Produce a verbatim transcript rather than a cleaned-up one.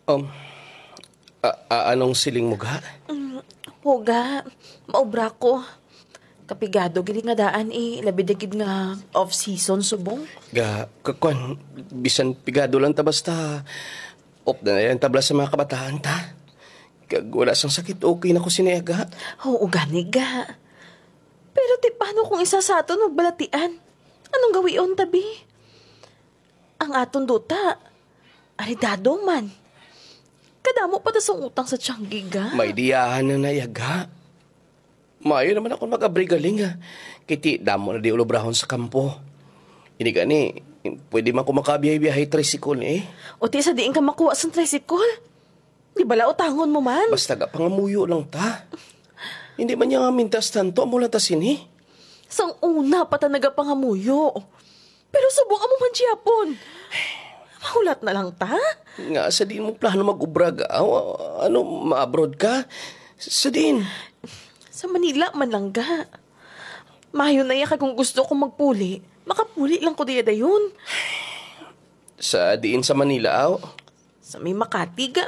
Um, a- a- anong siling mo, ga? Mm, po, ga. Maubra ko. Kapigado gid nga daan, eh. Labi na gid nga off-season subong. Ga, kakwan, bisan pigado lang ta, basta off na na lang tabla sa mga kabataan ta. Kag wala sang sakit, okay na ko sini, ga. Oo, gani, ga. Pero ti paano kung isa sa aton magbalatian? Anong gawion, tabi? Ang aton duta, aridado man. Kadamo pa ta sang utang sa tiyanggi, ga. May diyahan na nayaga. Maayo naman ako mag-abri galing, ha. Kiti damo na di ulobrahon sa kampo. Ini gani, pwede man ko makabiyahe-biyahe tricycle, eh. O ti sa diin ka makuha sang tricycle? Di bala utangon mo man? Basta ga pangamuyo lang ta. Hindi man niya nga mintas tanto, amo lang ta sini. Sang una pa ta nagapangamuyo. Pero subong amo man gihapon. Mahulat na lang ta? Nga sa diin mo plano mag-ubra, ga? Ano, ma-abroad ka? Sa diin? Sa Manila man lang, ga. Mayo na ya kag kung gusto ko magpuli, makapuli lang ko diya dayon. Sa diin sa Manila, aw? Sa may Makati, ga.